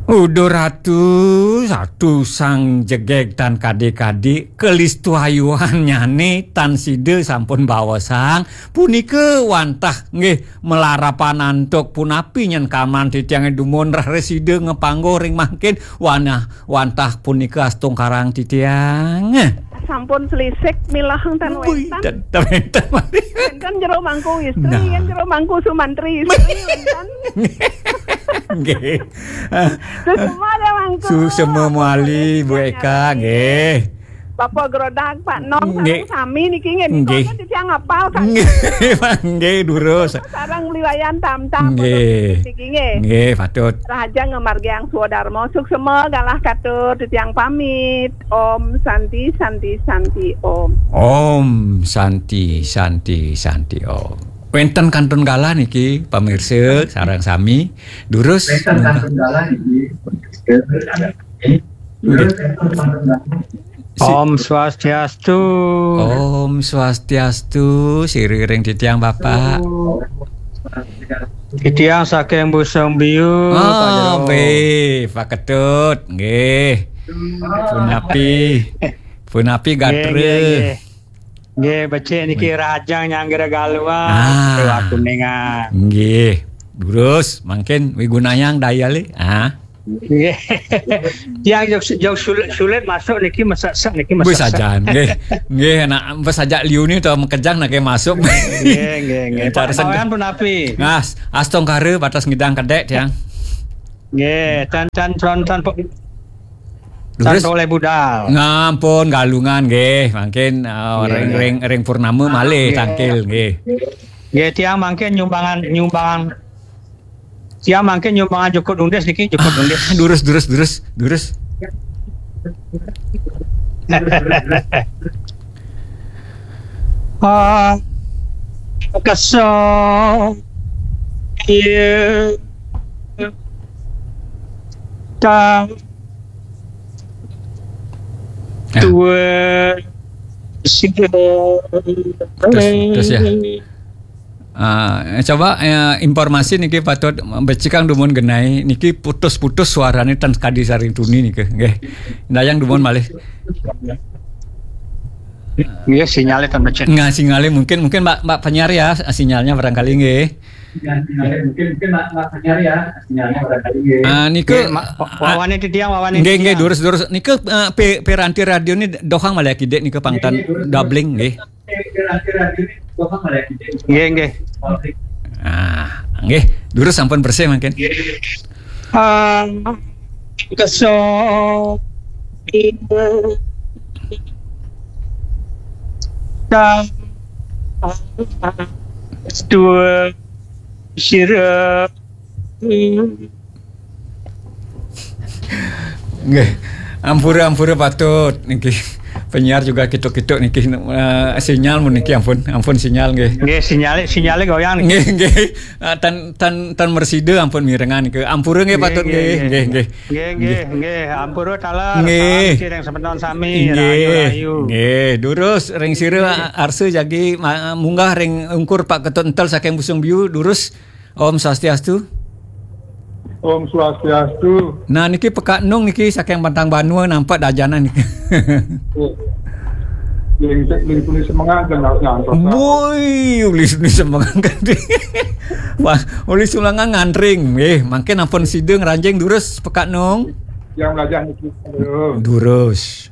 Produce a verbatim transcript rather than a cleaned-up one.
Uduh Ratu, Ratu sang jegég tan kadi-kadi, kalistuayuhannyané tan sida sampun baosang, punika wantah nggih malarapan antuk punapi nyen kaman titiangé dumun raris sida ngapangguh ring mangkin, wanah wantah punika astungkarang titiang. Sampun selisik milah tan Wih, wénten. Ten, ten wénten malih. Wénten Jero Mangku Istri, nah. Kan Jero Mangku Sumantri Istri, wénten. Nggih. Suksma ya, Mangku. Suksma malih, Bu Eka, nggih. Bapak Grodak, Pak Nom, nggih. Sareng sami niki nggih, nika nggih. Kan titiang apal kan. Nggih, nggih, durus. Sareng Bli Wayan Tamtam, nggih. Niki nggih. Nggih, patut. Rahaja ngamargiang swadarma, suksma galah katur, titiang pamit. Om Santi, Santi, Santi, Om. Om Santi, Santi, Santi, Om. Wénten kantun galah niki, pamirsa, sareng sami. Durus. Wénten kantun galah niki, pamirsa, sareng sami. Durus, wénten kantun galah niki. Si- Om Swastiastu. Om Swastiastu, siriring titiang Bapak. Titiang saking Busung Biu, Pak Jero. Ah, nggih, Pak Ketut, nggih. Punapi, punapi nggih, gatra. Nggih, nggih. Nggih, becik niki rajang nyanggra galuan. Ah. Dewa Kuningan. Nggih. Durus, mangkin wigunayang daya li. Ah. Nggih. Tiang jog, jog sulit, sulit masuk niki, mesesek niki, mesesek. Sajan, nggih. Nggih, nak mesajak liu ni tau makejang nak ke masuk. Nggih, nggih, nggih. Cara Pak sen- Mawan punapi? Nah, astungkara batas ngidang kedék tiang. Nggih, tan, tan, tan, tan, tan Durus. Oleh budal. Ngampun galungan nggih, mangkin, uh, nggih, ring, nggih. Ring, ring purnama malih nggih. Tangkil nggih. Nggih, tiang mangkin nyumbangan, nyumbangan Tiang mangkin nyumbangan jukut undis niki, jukut undis. Durus, durus, durus, durus. Ah, kesa. Iya. Ta. Ah. Tua. Sida. Terus, terus ya. Ah, coba, eh, informasi niki patut becikang dumun genai niki putus-putus suarane tan kadi saring tuni niki, nggih. Dayang dumun malih. Nggih, sinyale tan becik. Nggih, sinyale mungkin, mungkin Mbak, Mbak penyiar ya, sinyalnya barangkali nggih. Ya, sinyale mungkin, mungkin Mbak, Mbak penyiar ya, sinyalnya barangkali nggih. Ah, nika, nggih, ma-, wa-, wawane titiang, wawane nggih, nggih, titiang. Durus, durus. Nika, eh, pe-, peranti radio ni dohang malih kidik nika pangtan doubling nggih. Nggih, nggih. Ah, nggih, durus sampun bersih mangkin. Ah, keso. Dua. Sira. Nggih. Ampura, ampura patut niki. Penyiar juga kituk-kituk niki, eh, sinyal mun niki ampun, ampun sinyal nggih. Nggih, sinyale, sinyale goyang niki. Nggih, nggih. Ah, tan, tan, tan mersida ampun mirengan niki. Ampura nggih, nggih, patut nggih, nggih, nggih, nggih, nggih. Nggih, nggih, nggih. Ampura taler. Nggih. Salam sireng semeton sami. Nggih. Rahayu, rahayu. Nggih, durus ring sira arsa jagi ma-, munggah ring ungkur Pak Ketut Entel saking Busung Biu, durus. Om Swastiastu. Om Swastiastu. Nah, niki Pekak Nung niki saking Pantang Banua nampak dajanan niki. Ling, ling tuni semengan kan harus ngantos. Woi, uli tuni semengan kan. Wah, uli sulangan ngantring. Eh, mangkin ampun sida ngranjing durus Pekak Nung. Yang belajar niki. Aduh. Durus.